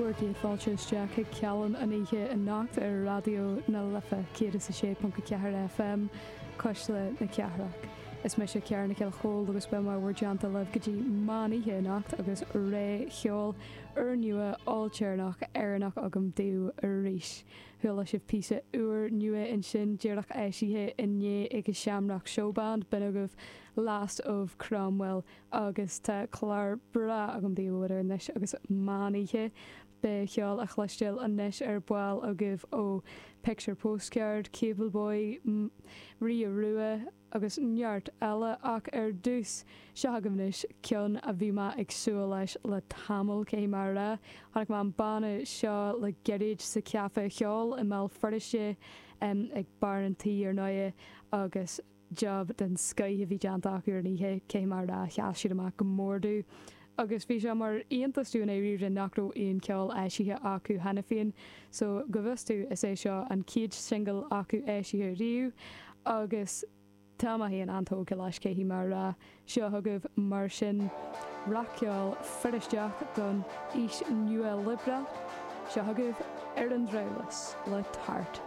Bhur gcéad fáilte isteach chuig Cealann an oíche anocht ar Raidió na Life 106.4 FM, Cuisle na Cathrach. Is mise Ciara Nic Giolla Chóill agus beidh mé i bhur dteannta libh go dtí meán oíche anocht agus rogha cheoil úrnua ailtéarnach Éireannach agam daoibh arís. Chuala sibh píosa úr nua ansin díreach eisithe inné ag an Shamrock Showband, b'in agaibh Last of Cromwell agus tá clár breá agam daoibh idir anois agus meán oíche. Beidh ceol á chloisteáil anois ar ball agaibh ó Picture Postcard, Cable Boy, Ria Rua agus neart eile ach ar dtús, seo agaibh anois ceann a bhí mé ag súil leis le tamall, caithfidh mé a rá. Chonaic mé an banna seo le gairid sa Chaife Cheoil i mBéal Feirste, ag Barr an Tí ar ndóigh, agus jab den scoith a bhí déanta acu ar an oíche, caithfidh mé a rá, sheas siad amach go mór domh. Agus bhí sé mar iontas domh i ndáiríre nach raibh aon cheol eisithe acu cheana féin, so go bhfios domh is é seo an chéad singil acu eisithe riamh agus tá mé féin an-tógtha leis, caithfidh mé a rá. Seo chugaibh mar sin rac-cheol Feirsteach don aois nua-liobrálach, seo chugaibh Ar an Drabhlás le Tart.